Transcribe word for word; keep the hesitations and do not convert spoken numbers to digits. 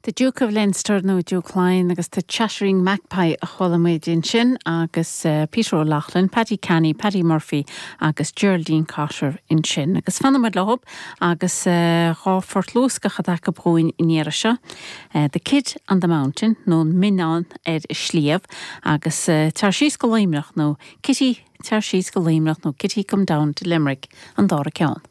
The Duke of Leinster nó Duke Laighean agus The Chattering Magpie a chuala muid ansin agus uh, Peter O'Loughlin, Paddy Canny, Paddy Murphy agus Geraldine Cotter ansin. Agus fanfaimid leo agus uh, dhá phort luascach atá againn an iarraidh seo. Uh, the Kid on the Mountain nó Mionnán ar Sliabh agus uh, Tar síos go Luimneach nó Kitty tar síos go Luimneach nó Kitty come down to Limerick an dara ceann.